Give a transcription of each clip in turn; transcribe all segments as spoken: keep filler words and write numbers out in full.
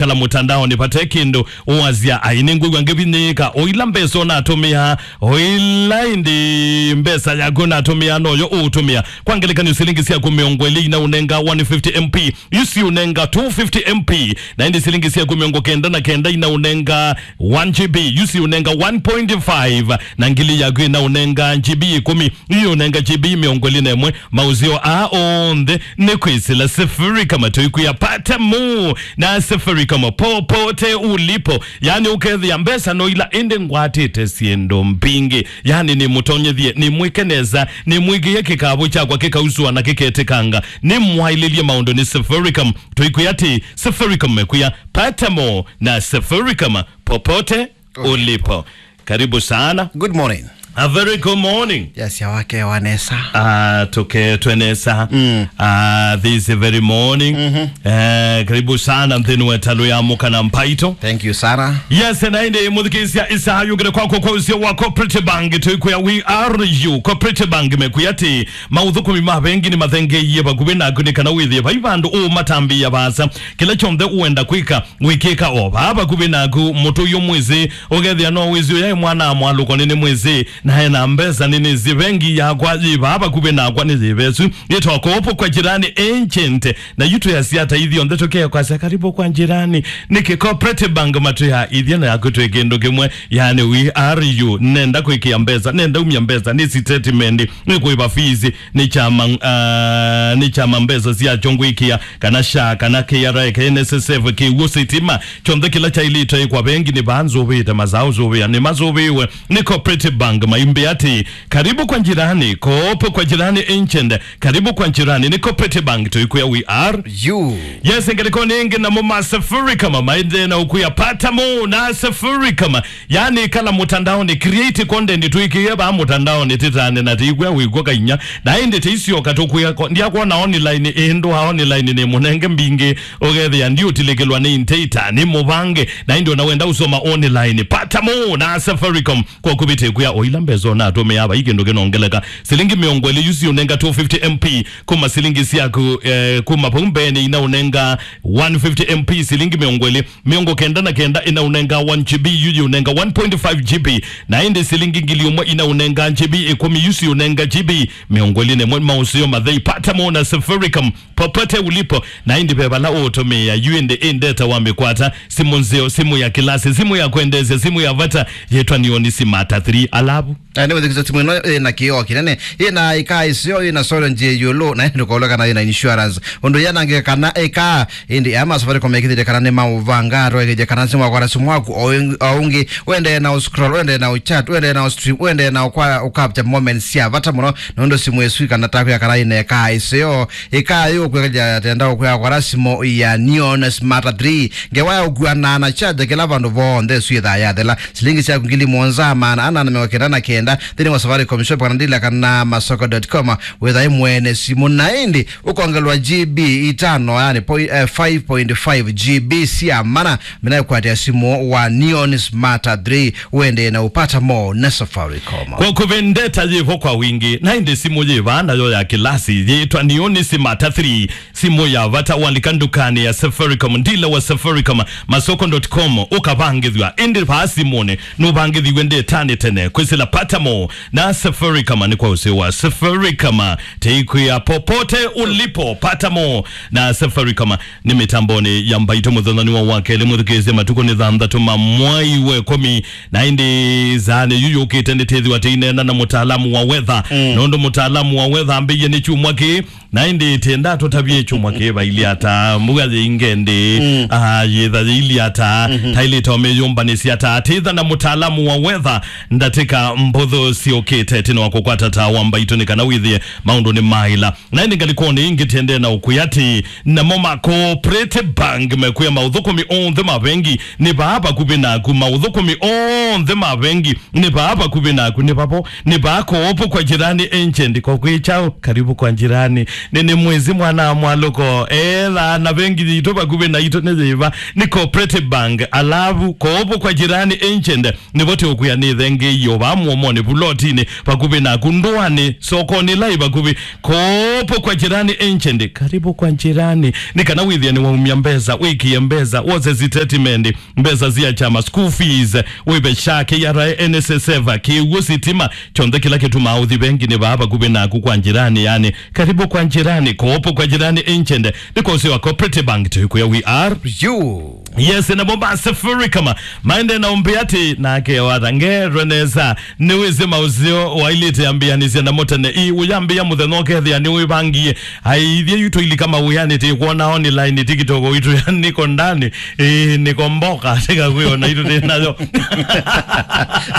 Kala mũtandaonĩ vate kĩndũ ũasya, ai, nĩngwĩw'a ngĩvinyĩĩka, o ila mbesa ũnatũmĩa, o ila ĩndĩ mbesa yaku ũnatũmĩa noyo ũũtũmĩa. Kwa ngelekany'o, silingi syaku mĩongo ĩlĩ inaũnenga one fifty M P, yu siũnenga two fifty M P, na ĩndĩ silingi syaku mĩongo kenda na kenda inaũnenga one G B, yu siũnenga one point five, na ngili yaku inaũnenga G B ĩkũmi, yu ũnenga G B mĩongo ĩlĩ na ĩmwe. Maũseo aa onthe nĩ kwĩsĩla Safaricom, tũikwĩa pata mo na Safaricom popote ulipo. Yani ũkethĩa mbesa no ila, ĩndĩ ngwatĩte syĩndũ mbingĩ. Yani nĩmũtonyethie, nĩmwĩke nesa, nĩmwĩkĩe kĩkavũ kyakwa kĩkausũa na kĩketĩkanga. Nĩmwaĩlĩlye maũndũ nĩ Safaricom. Tũikwĩa atĩ Safaricom mekwĩa pata mo na Safaricom popote ulipo. Karibu sana. Good morning. A very good morning. Yes, ya wake wa nesa. Ah, tũketwe nesa. Mm. Ah, this very morning. Mhm. Eh, karibu sana nthĩnĩ wa ĩtalũ ya Mũka na Mbaitũ. Thank you sana. Yes, na ĩndĩ mũthikĩĩsya, ĩsaa yũkĩte kwakwa kwa ũseo wa Cooperative Bank, tũikwĩa we are you. Cooperative Bank mekwĩa atĩ maũthũkũmi ma vengi nĩmathengeeie vakuvĩ naku, nĩ kana wĩthĩe vai vandũ ũũmatambĩĩa vaasa. Kĩla kyonthe ũenda kwĩka, wĩkĩka o vaa vakuvĩ naku. Mũtũi ũmwĩsĩ, ũkethĩa no wĩsĩ ũyaĩ mwana amwalũko nĩnĩmwĩsĩ, na ena mbesa nĩnĩsĩ. Vengi yakwa yĩ vaa vakuvĩ nakwa, nĩ yĩvesu, yĩtawa Kopo kwa Jirani Agent. Na yu twĩasya ata ithyonthe tũkekwasya karibu kwa jirani? Nĩkĩ Cooperative Bank matwĩa ithyĩ na yaku twĩ kĩndũ kĩmwe? Yani we are you. Nenda kwĩkĩa mbesa, nenda umya mbesa, nĩ statement, nĩ kũĩva fees, nĩ kyama, ah, nĩ kyama mbesa syakyo ngwĩkĩa, kana SHA, kana K R A, K N S S F, kĩw'ũ, sitima, kyonthe kĩla kyaĩlĩte kwa vengi nĩ vaa nzũvĩte, masaa ũsũvĩa nĩ masũvĩwe nĩ Cooperative Bank. Maimbĩ atĩ, karibu kwa jirani, Kopo kwa Jirani Agent, karibu kwa jirani, nĩ Cooperative Bank, tũikwĩa we are you. Yes, ngelekoni ĩngĩ namo ma Safaricom maendee na ũkwĩa pata mo na Safaricom. Yani, kala mũtandaonĩ, create content, twĩkĩe vaa mũtandaonĩ, tĩtane na tĩikw'a wĩkw'a kainya. Na ĩndĩ tĩisyoka tũkwĩa ko-, ndiakwona online, ĩndũ wa online nĩ mũnenge mbingĩ, ũkethĩa ndiũtilĩkĩlwa nĩ inteta, nĩ mũvange. Na ĩndĩ ona wenda ũsoma online, pata mo na Safaricom kwa kũvĩtĩkwĩa o ila mbesa ũnatũmĩa vai kĩndũ kĩnongeleka. Silingi mĩongo ĩlĩ yu siũnenga two fifty M P, kuma silingi syaku, eh, kuma vau mbeenĩ inaũnenga one fifty M P, silingi mĩongo ĩlĩ. Mĩongo kenda na kenda inaũnenga one G B, yu yĩũnenga one point five G B, na ĩndĩ silingi ngili ũmwe inaũnenga G B ĩkũmi, yu siũnenga G B mĩongo ĩlĩ na ĩmwe. Maũseo mathei, pata mo na Safaricom popote ulipo, na ĩndĩ ve vala ũũtũmĩĩa, yu ĩndĩ ĩndeta wa mĩkwata, simũ nzeo, simũ ya kĩlasi, simũ ya kwendeesya, simũ ya vata, yĩtwa Neon Smart three, alavu Na nĩ wĩthukĩĩsya simũ ĩno ĩna kĩoo kĩnene, ĩna ĩkaa ĩseo, ĩna solar nzĩa ĩũlũ, na ĩndĩ ndũkaũlwe kana ĩna insurance. Ũndũ yanangĩka kana ĩkaa, ĩndĩ aya ma Safaricom mekĩthĩte kana nĩ maũvanga, twaĩkĩthya kana simũ wakwata simũ waku o ĩng-, o ũngĩ, ũendee na ũscroll, ũendee na ũchat, ũendee na ũstream, ũendee na ũkwa-, ũcapture moments sya vata mũno, nũndũ simũ ĩsu ĩkanataa kwĩa kana ĩna ĩkaa ĩseo. Ĩkaa yĩũkwĩkĩthya tenda ũkwĩa kwata simũ ya Neon Smart three, ngewa ya ũkuanaa na charger kĩla vandũ vonthe ĩsu yĩthaa yathela. Silingi syaku ngili mũonza maana ana na mĩongo kenda na kenda nthĩnĩ wa Safaricom Shop kana ndila kana masoko dot com. Wĩthae mwene simũ na ĩndĩ ũkongelwa G B itano, yani poi-, eh, five point five G B sya mana. Mina kwatĩa simũ wa Neon Smart three, wendee na ũpata mo na Safaricom. Kwa kũvendeta yĩvo kwa wingĩ, na ĩndĩ simũ yĩva nayo ya kĩlasi yĩtwa Neon Smart three. Simũ ya vata walika ndukanĩ ya Safaricom, ndila wa Safaricom, masoko dot com, ũkavangĩthw'a. Ĩndĩ vaa simũnĩ, nũvangĩthiw'e ndetanĩ tene. Kwĩsĩla pata mo na Safaricom nĩ kwa ũseo wa Safaricom. Teikwĩa popote ulipo, pata mo na Safaricom. Nĩ mĩtambonĩ ya Mbaitũ mũthenyanĩ wa wakelĩ, mũthukĩĩsye matukũ nĩ thanthatũ ma mwai wa ĩkũmi. Na ĩndĩ saanĩ yu yũkĩte nĩtĩthĩwa tĩineena na mũtaalamu wa weather. Mm. Nũndũ mũtaalamu wa weather ambĩie nĩ kyumwa kĩĩ, na ĩndĩ tĩenda tũtavye kyumwa kĩĩ vailye ata, mbua yĩinge ndĩ, mm, ah, yĩtha yĩilye ata, mhm, tailĩte ũmĩyũmbanĩsya ata, tĩtha na mũtaalamu wa weather ndatĩka mbũthũ syũkĩte, tĩna wa kũkwata ta wa Mbaitũ nĩ kana wĩthĩe maũndũ nĩ maĩla. Na ĩndĩ ngalĩkonĩ ĩngĩ tĩendee na ũkwĩa atĩ namo ma Cooperative Bank mekwĩa maũthũkũmi onthe ma vengi nĩ vaa vakuvĩ naku, maũthũkũmi onthe ma vengi nĩ vaa vakuvĩ naku, nĩ vavo, nĩ vaa Kopo kwa Jirani Agent. Kwa kwĩ kyaũ? Karibu kwa jirani. Nĩ, nĩ mwĩsĩ mwana wa mwalũko. Etha na vengi yitũ vakuvĩ naitũ nĩ yĩva? Nĩ Cooperative Bank. Alavu Kopo kwa Jirani Agent nĩvo tũkwĩa nĩ thengeio vamwe. ũmoni, vulotinĩ vakuvĩ naku, ndũanĩ, sokonĩ ĩla ĩ vakuvĩ. Kopo kwa jirani, agent, karibu kwa jirani. Nĩ kana wĩthĩe nĩwaumya mbesa, wĩkie mbesa, wose statement, mbesa sya kyama, school fees, wĩve SHA, K R A, N S S F, kĩw'ũ, sitima, kyonthe kĩla kĩtumaa ũthi venginĩ vaa vakuvĩ naku kwa jirani, yani, karibu kwa jirani, kopo kwa jirani, agent, nĩ kwa ũsĩ wa Cooperative Bank, tũikwĩa we are you. Yes, na bomba Safaricom, maende na ũmbĩ atĩ, nake wata ngerwe nesa, nĩwĩsĩ maũseo wailĩte ambĩanĩsya namo tene, ĩ, ũyambĩa mũthenya ũkethĩa nĩwĩvangie, aithye yu tũilika mawĩanĩ, tĩkwona online, TikTok witũ, yani, nĩko ndani, ĩ, nĩko mboka, tĩka kwĩona itũ tĩ nayo.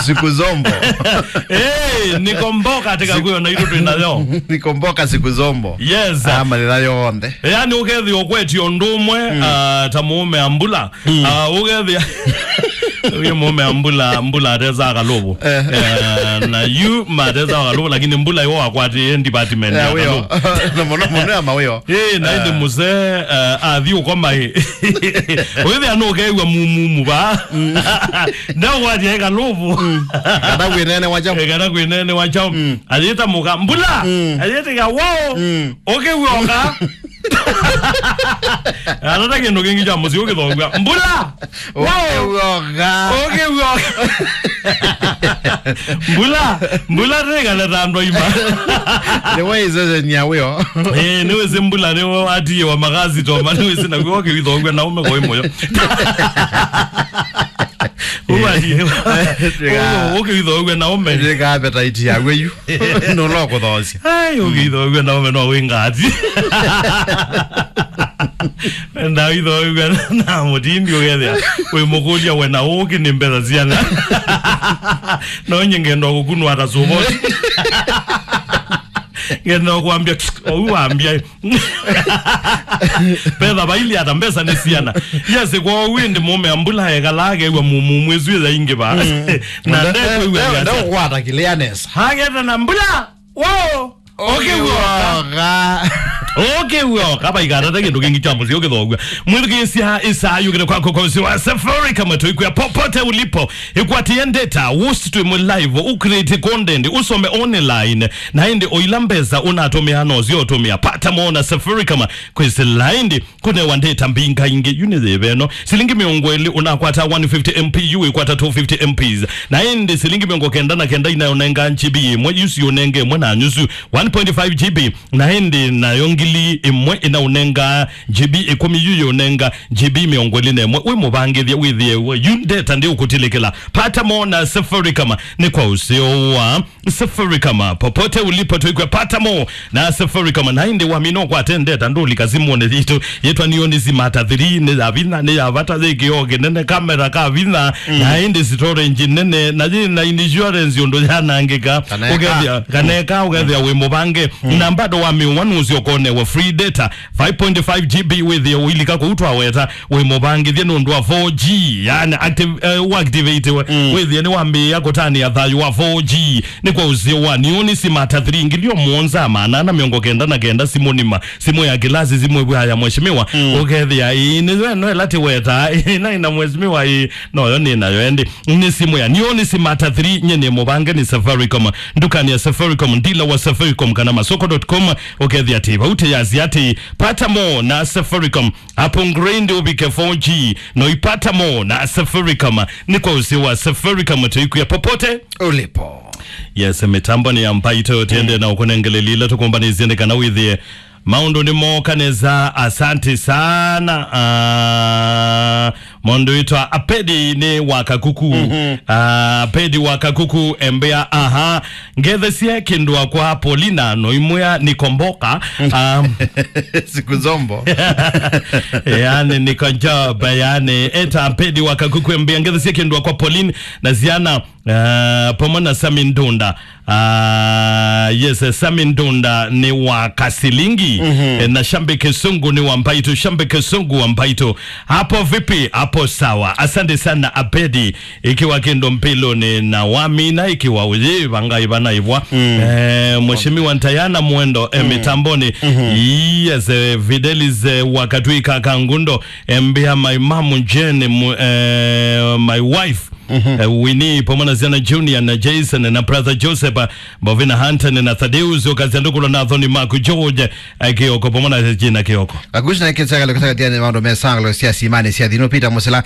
Siku zombo. Ĩ, nĩko mboka, tĩka kwĩona itũ twĩ nayo. Nĩko mboka siku zombo. Yes. Ah, mathĩna yonthe. Yani, ũkethĩa ũkwetio ũndũ ũmwe, ah, ta mũũme ambula, ah, ũkethĩa, ũyũ mũũme ambula, ambula atesa kalũvũ. Eh. Eh, na yu matesa kalũvũ, lakini mbula yo akwatĩe department ya kalũvũ. Na mũno, mũno ya mawĩo. Ĩ, na ĩndĩ mũsee, eh, athi ũkoma ĩ. Ũkethĩa nũkew'a mumumu va. Ndaũkwatĩe kalũvũ. Kana kwĩnene wa chao. Eh, kana kwĩnene wa chao. Ayĩta mũka, mbula! Ayĩtĩka, wao! Ũkĩw'oka! Atata kĩndũ kĩngĩ kya mũsyĩ ũkĩthongw'a. Mbula! Wao! Ũkĩw'oka! Ũkĩw'oka! Mbula! Mbula tĩkale ta andũ aima. Nĩwe ĩseseni ya wĩo. Eh, nĩwĩsĩ mbula nĩwe watiĩwa makasitoma, nĩwĩsĩ nakw'o ũkĩw'ithongw'a na ũme koi mũyo. Ũkĩw'ithogw'a na ũme. Ndĩka appetite yawe yu. Nũla kũthoosya. Ai, ũkĩw'ithogw'a na ũme no wĩ ngati. Ndaw'ithogw'a na mũtindi ũkethĩa wĩ mũkũlya we na ũkĩ nĩ mbesa syana. No nye ngenda kũkunwa ata sũvoti. Ngenda kwambia, ou wambia. Mbesa vaili ata mbesa nĩ syana. Yes, kwa ũu ĩndĩ mũũme ambula ekala akew'a mumumu ĩsu ĩyaingĩva. Na ndekwĩw'a nesa. Ndakwata kĩlĩa nesa. Hageta na mbula. Wao. Ũkĩw'oka. Ũkĩw'oka. Vaikatate kĩndũ kĩngĩ kya mũsyĩ ũkĩthongw'a. Mwĩthukĩĩsya ĩsaa yũkĩte kwako kwa ũsĩ wa Safaricom, tũikwĩa popote ulipo. Ĩkwatĩe ndeta, wũsi twĩ mwe live, ũcreate content, ũsome online. Na ĩndĩ o ila mbesa ũnatũmĩa no syo ũtũmĩa. Pata mo na Safaricom kwĩsĩla ĩndĩ kũnewa ndeta mbingaingĩ. Yu nĩ yĩva ĩno? Silingi mĩongo ĩlĩ ũnakwata one fifty M P, yu wĩkwata two fifty M Ps. Na ĩndĩ silingi mĩongo kenda na kenda inaũnenga G B ĩmwe, yu siũnenge ĩmwe na nyusu, one point five G B. Na ĩndĩ nayo ngili ĩmwe inaũnenga G B ĩkũmi, yu yĩũnenga G B mĩongo ĩlĩ na ĩmwe. Wĩ mũvangĩthya wĩthĩe we, yu ndeta ndĩũkũtilĩkĩla. Pata mo na Safaricom nĩ kwa ũseo wa Safaricom, popote ulipo, tũikwĩa pata mo na Safaricom. Na ĩndĩ wamina ũkwate ndeta, ndũlika simũnĩ yitũ yĩtwa Neon Smart three, nĩ ya vinya, nĩ ya vata, yĩ kĩoo kĩnene, kamera ka vinya, na ĩndĩ storage nene, na yĩ na insurance ũndũ yanangĩka. Kana eka. Ũkethĩa, kana eka, ũkethĩa wĩ mũvange. Na bado wamĩũa nũsĩ ũkonewa free data, five point five G B wĩthĩe ũilika kũu twaweta, wĩ mũvangĩthye nũndũ wa four G, yani active, eh, ũactivate we. Wĩthĩe nĩwambĩĩa kũtanĩa thayũ wa four G. Nĩ kwa ũsĩ wa Neon Smart three, ngili o mũonza maana ana mĩongo kenda na kenda, simũ nima, simũ ya kĩlasi, simũ ĩvw'a ya mheshimiwa. Ũkethĩa ĩĩ nĩyo ĩno ĩla tĩwetaa, ĩĩ naĩ na mheshimiwa, ĩĩ noyo nĩ nayo ĩndĩ. Nĩ simũ ya Neon Smart three, nye nĩ mũvange nĩ Safaricom, ndukani ya Safaricom, ndila wa Safaricom kana masoko dot com. Ũkethĩa atĩ vau tĩyasya atĩ pata mo na Safaricom. Hapo ngrindi ũvike four G, no ipata mo na Safaricom. Nĩ kwa ũsĩ wa Safaricom, tũikwĩa popote ulipo. Yes, mĩtambo nĩ ya Mbaitũ, tũendee na ũkũnengeleli ila tũkũmbanĩsye nĩ kana wĩthĩe maũndũ nĩ mooka nesa. Asante sana. Ah, mũndũ wĩtwa Apedi nĩ wa Kakuku. Ah, Apedi wa Kakuku embea, aha. Ngethesye kĩndũ akwa Paulina, no imwĩa nĩkomboka. Um, siku zombo. Yani nĩko job, yani. Eta Pedi wa Kakuku embea, ngethesye kĩndũ akwa Pauline na ziana, uh, pamwe na Sami Ndunda. Uh, yes, eh, Sami Ndunda nĩ wa Kasilingi. Eh, na Shambe Kisungu nĩ wa Mbaitũ. Shambe Kisungu wa Mbaitũ. Hapo vipi? Hapo sawa. Asante sana Apedi. Ikiwa kĩndũ mpilũnĩ na wamina ikiwa ũyĩ vanga ivana ivwa. Eh, Mheshimiwa Ntayana Mwendo, eh, mitamboni. Yes, eh, Fidelis, eh, wakatwika kangundo, eh, mbia my mom Jane, mu-, eh, my wife. Mhm. Eh, Winnie, pamwe na Siana Junior, na Jason, na brother Joseph, eh, Bovina Hunter, na Thaddeus, ũkasya ndũkũlwa na Thoni Mark George, eh, Kioko, pamwe na Regina Kioko. Vakusi na kĩsakalo kĩsakatiani maũndũ mesangalo sya simani sya thino Peter Musila,